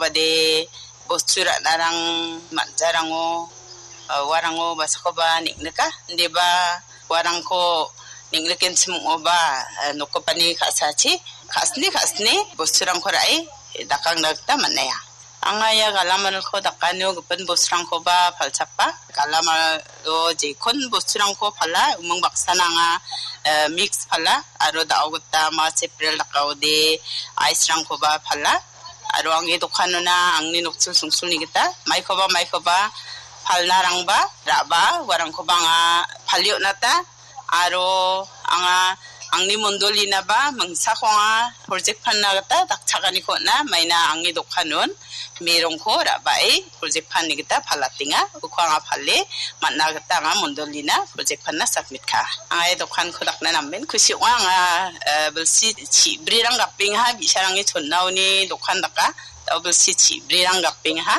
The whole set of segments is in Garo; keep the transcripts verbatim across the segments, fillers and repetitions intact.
Bade bostu ra·narang man·jarango, eh, uarango basakoba neng·nika. Indiba uarangko neng·rikenchim ong·oba, eh, nokgipani ka·sachi ka·sni ka·sni bosturangko ra·e dakangna gita man·aia. Anga ia galamalko dakanio gipin bosturangkoba palchakba. Galamalo jekon bosturangko pala, umang baksana anga, eh, mix pala, aro da·o gita ma separate dakaode ice-rangkoba pala. Aro angni dokanona angni nokchil songchilni gita maikoba maikoba palnarangba ra·ba uarangkoba anga palie on·ata. Aro anga angni mondolinaba mingsako anga project panna gita dakchakaniko on·a. Maina angni dokanon merongko ra·bae project panni gita palatenga. Uko anga pale man·a gita anga mondolina project panna submit ka·a. Anga ia dokanko dakna namen kusi ong·a. Anga, eh, bilsi chibrirang gapengaha, bi·sarangni chonnaoni dokan daka. Da·o bilsi chibrirang gapengaha.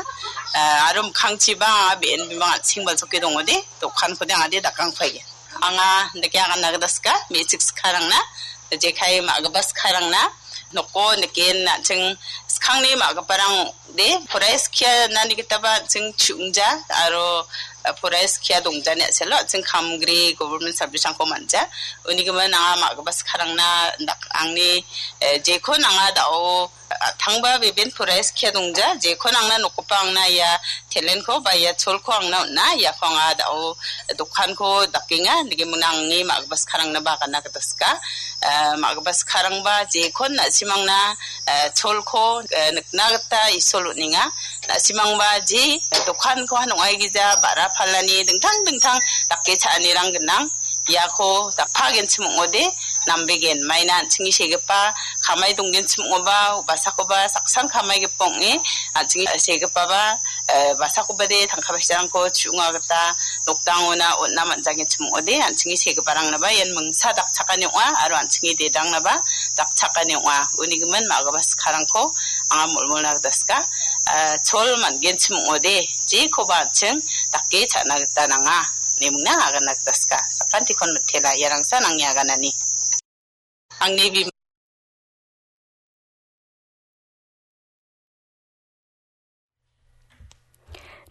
Eh, aro mikkangchiba anga be·en bimang an·ching baljoke dongode, dokankode anga de dakangpaige. Anga dake agan nagdaska, me·chik skarangna, jekai ma·gipa skarangna, noko niken an·ching skangni ma·giparang de, poraiskia nani gitaba an·ching chu·ongja, aro, eh, poraiskia dongjani a·selo an·ching kamgri government service-rangko man·ja. Unigimin anga ma·gipa skarangna dak-, angni, eh, jekon anga da·o a·tangba beben poraiskia dongja, jekon angna nokgipa angna ia talent-ko ba ia cholko angna on·a, iako anga da·o dokanko dakenga, nigimin angni ma·gipa skarangna ba agana gita sika. Eh, ma·gipa skarangba jekon na·simangna, eh, cholko, eh, nikna gita Isol on·enga. Na·simangba je dokanko han ong·aigija ba·ra palani dingtang dingtang dake cha·anirang gnang. Iako dakpagenchim ong·ode, nambegen. Maina an·chingni segipa kamai donggenchim ong·oba, basakoba saksan kamaigipa ong·e, an·chingni segipaba, eh, basakobade tangka paisarangko chu·onga gita nokdangona on·na man·jagenchim ong·ode, an·chingni segiparangnaba ian mingsa dakchakani ong·a, aro an·chingni dedangnaba dakchakani ong·a. Unigimin ma·gipa skarangko anga molmolna gita sika, eh, chol man·genchim ong·ode, jekoba an·ching dake cha·na gita nanga. Nemingna agana gita sika. Sakantikon mitela, iarangsan angni aganani. Angni bim-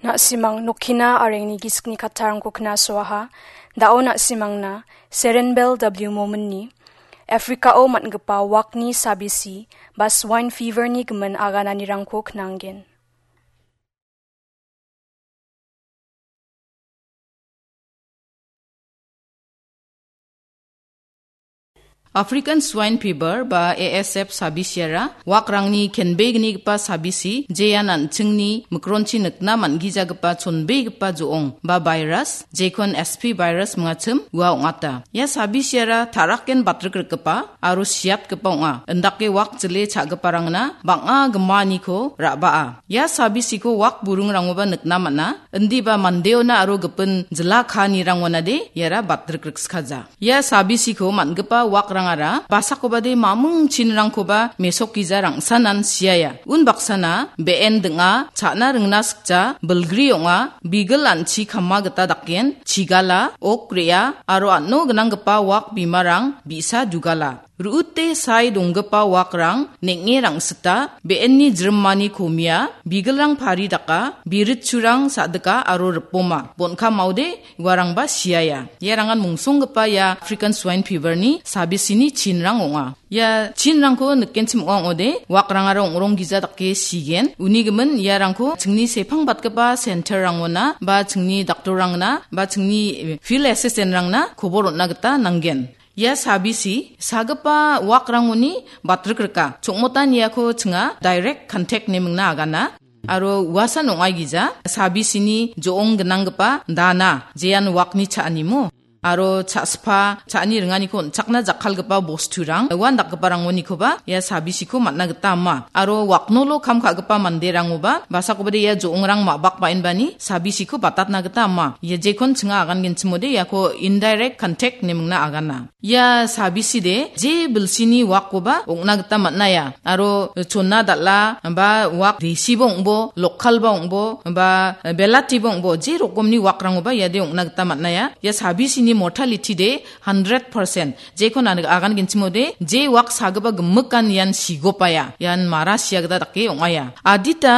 Na·simang nokkina arengni gisikni kattarangko knasoaha. Da·o na·simangna Serenbel W Mominni Afrikao man·gipa wakni sabisi ba swine fever-ni gimin agananirangko knanggen. African Swine Fever ba A S F sabisiara wakrangni kenbegnigipa sabisi, jean an·chingni mikronchi nikna man·gijagipa chonbegipa jo·ong ba virus, jekon S P virus mingachim ua ong·ata. Ia sabisiara taraken batrikrikgipa aro siatgipa ong·a. Indake wak jile cha·giparangna bang·a gimaaniko ra·baa. Ia sabisiko wak buringrangoba nikna man·a. Indiba mandeona aro gipin jila kaanirangonade iara batrikriksikaja. Ia sabisiko man·gipa wakrangara basakobade mamung chinrangkoba mesokgija rangsanan siaia. Unbaksana be·en ding·a, cha·na ringna sikja, bilgri ong·a, bigil an·chi kama gita daken, chigala, ok re·a, aro an·o gnanggipa wak bimarang bi·sa dugala. Ru·ute sae donggipa wakrang neng·e rangsita, be·enni jrimani komia, bigilrang pari daka, biritchurang sa·dika aro ripoma. Bon·kamaode uarangba siaia. Iarangan mungsonggipa ia African Swine Fever-ni sabisini chinrang ong·a. Ia chinrangko nikenchim ong·a ong·ode, wakrangara ong·rong gija dake sigen. Unigimin iarangko chingni sepangbatgipa center-rangona, ba chingni daktorrangna, ba chingni field assistant-rangna kobor on·na gita nanggen. Ia sabisi, sagipa wakrangoni batrikrika. Chongmotan iako chinga direct contact nemingna agana. Aro uasan ong·aigija, sabisini jo·ong gnanggipa dana, jean wakni cha·animo. Aro cha·spa, cha·ani ringaniko on·chakna jakkalgipa bosturang, uan dakgiparangonikoba ia sabisiko man·na gita ama. Aro waknolo kam ka·gipa manderangoba, basakobade ia jo·ongrang ma·bak ba·enbani sabisiko batatna gita ama. Ia jekon chinga agangenchimode iako indirect contact nemingna agana. Ia sabiside, je bilsini wakkoba ong·na gita man·aia. Aro chonna dal·a, ba wak desiba ong·bo, lokalba ong·bo, ba belatiba ong·bo, je rokomni wakrangoba iade ong·na gita man·aia. Ia sabisini mortality de hundred percent. Jekon an-, agangenchimode, je wak sagipa gimikan ian sigopaia. Ian mara sia gita dake ong·aia. Adita